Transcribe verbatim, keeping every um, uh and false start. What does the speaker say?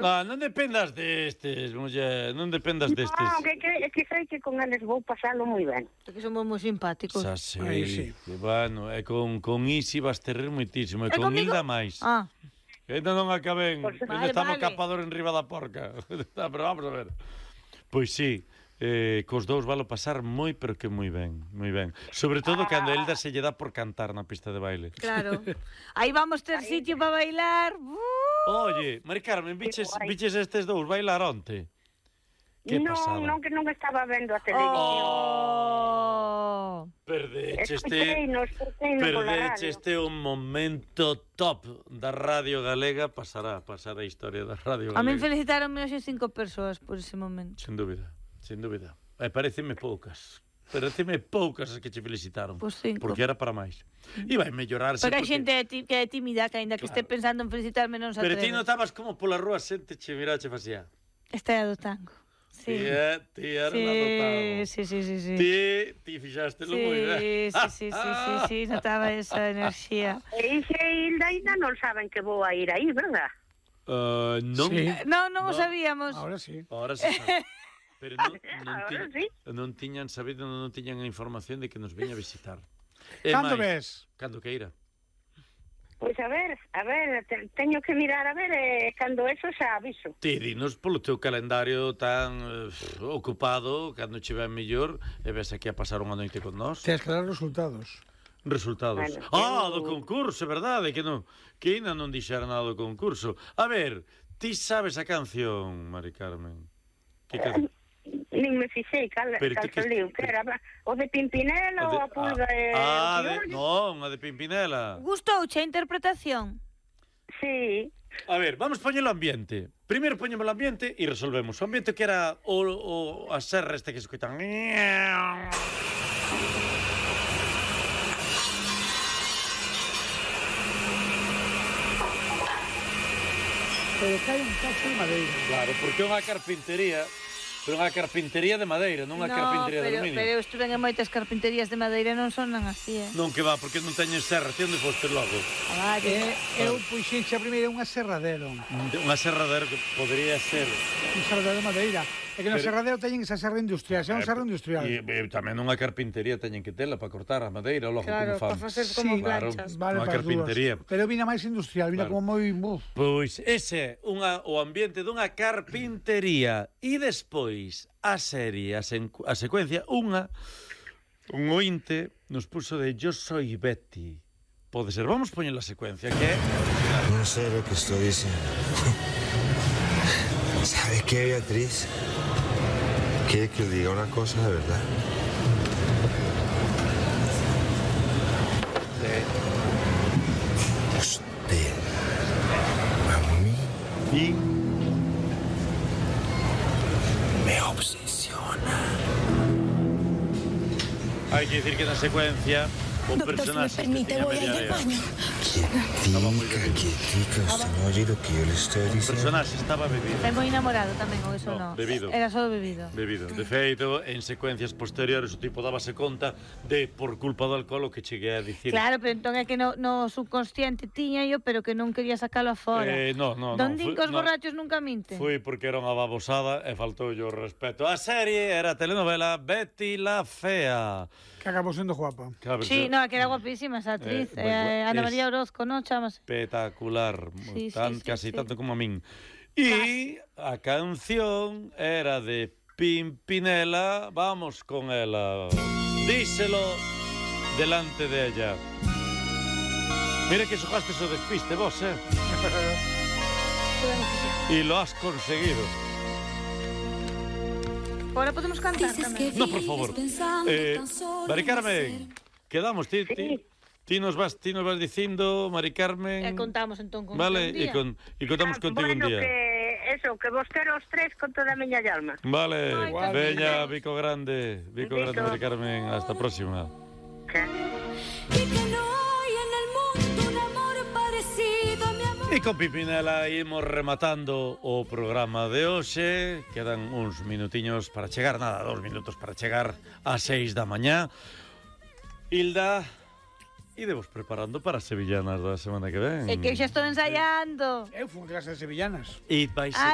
Ah, non dependas destes, muller, non dependas destes. Non, que, que, que sei que con eles vou pasalo moi ben. Porque somos moi simpáticos. Xa sei, Aí sí. que, bueno, e con, con Isi vas ter rir moitísimo, e E con comigo? Hilda máis. Ah, Que ainda non acaben, Pois, ainda vale, está no vale. capador en riba da porca. Pero vamos a ver. Pois sí, eh, cos dous valo pasar moi, pero que moi ben, moi ben. Sobre todo cando a Hilda se lle dá por cantar na pista de baile. claro. Aí vamos ter sitio para bailar. Uh! Oye, Mari Carmen, biches, guai. biches estes dous bailar onte? Que non, pasada. non, que non estaba vendo a televisión. Oh! Perdecheste, Escoiteino, escoiteino pola radio. perdecheste un momento top da Radio Galega. Pasará, pasará a historia da Radio A min Galega. felicitaronme hoxe cinco persoas por ese momento. Sin dúbida, sin dúbida. E pareceme poucas. Pareceme poucas as que che felicitaron. Pois cinco. Porque era para máis. E vai mellorarse. Porque hai porque- xente tí- que é tímida, que aínda que Claro. este pensando en felicitarme non se Pero ti atreve. notabas como pola rúa xente che mirache facía. Esta é a do tango. Sí. Tía, tía, era Sí, unha dotada. sí, sí, sí, sí. Ti, ti fixástelo moi ben. Sí, sí, sí, sí, sí, sí, notaba esa enerxía. E Ixe e Hilda ainda non saben que vou a ir aí, verdad? Uh, non, Sí. Non, non o No. sabíamos. Ahora sí. Ahora se sabe. Pero non, non, Ahora tiñan, sí. non tiñan sabido, non tiñan a información de que nos veña a visitar. E Cando máis, ves? Cando queira. Pois a ver, a ver, te, teño que mirar a ver e cando eso xa aviso. Ti dinos polo teu calendario tan eh, ocupado, cando che ven mellor, e ves aquí a pasar unha noite con nós. Tens que dar resultados. Resultados. Bueno, ah, eu- do concurso, é verdade, que non, que ainda non dixera nada do concurso. A ver, ti sabes a canción, Mari Carmen? Que canción? Nin me fixei cal, Pero cal ti que- saliu, que era o de Pimpinela ou a pulga e ah, o de, piollo? non, a de Pimpinela. Gustouche a interpretación? Sí. A ver, vamos poñer o ambiente. Primeiro poñemos o ambiente e resolvemos. O ambiente que era o, o a serra este que se escoitan. Pero cae un cacho de madeira. Claro, porque é unha carpintería, pero unha carpintería de madeira, non unha carpintería de pero, aluminio. pero eu estuve en moitas carpinterías de madeira e non sonan así, eh? Non que va, porque non teñen serra, ti onde foste logo? Ah, vale. E eu puxenche a primeira unha serradero. Unha serradera que podría ser. Un serradero de madeira. É que no Pero- serradero teñen esa serra industrial, xa é un serra industrial. E, e tamén unha carpintería teñen que tela para cortar a madeira, logo Claro, como fan. para facer como Sí, claro. planchas. Vale, Unha para as carpintería. dúas. Pero vina máis industrial, vina Claro. como moi... Uf. Pois ese é unha, o ambiente dunha carpintería e despois a serie, a, sen, a secuencia, unha un ointe nos puso de Yo soy Betty. Pode ser, vamos poñer a secuencia, que é No sé lo que estoy diciendo. ¿Sabe qué, Beatriz? ¿Quiere que le diga una cosa de verdad? Usted, a mí, y me obsesiona. hai que dicir que na secuencia un Doctor, si me personaje permite, que tiña voy a ir media al área. baño. Quietica, quietica, usted no oye lo que yo le estoy Un diciendo. personaje estaba bebido. Ten moi enamorado tamén, ou eso No, non? bebido. Era só bebido. Bebido. De feito, en secuencias posteriores o tipo dábase conta de por culpa do alcohol o que cheguei a dicir. Claro, pero entón é que no, no subconsciente tiña yo, pero que non quería sacalo afora. Eh, no, no, Don no. din fui- que os no. borrachos nunca minten. Foi porque era unha babosada e faltou yo respeto. A serie era a telenovela Betty la Fea. Que acabou sendo guapa. Claro, Sí, no, que era guapísima esa actriz. Eh, Eh, bueno, Ana es- María Orozco, non? Chámase. espectacular, Sí, sí, tan, sí, casi sí. tanto como a min. E a canción era de Pimpinela, vamos con ela. Díselo delante de ella. Mira que xogaste o despiste vos, eh? E lo has conseguido. Ahora podemos cantar tamén. No, por favor. Eh, Mari Carmen, quedamos, ti, ti, ti nos vas, ti nos vas dicindo, Mari Carmen. E contamos entón con Vale, un e día. con e contamos contigo un bueno, día. que eso, que vos quero os tres con toda a miña alma. Vale, Ay, Igual. veña, Vico Grande, Vico Vico. Grande, Mari Carmen, hasta a próxima. Que? Y que no hay en el mundo un amor parecido a mi amor. E con Pimpinela imos rematando o programa de hoxe. Quedan uns minutiños para chegar, nada, dos minutos para chegar ás seis da mañá. Hilda, idevos preparando para as sevillanas da semana que ven. É que eu xa estou ensaiando. Eu fui en clase de sevillanas. E vais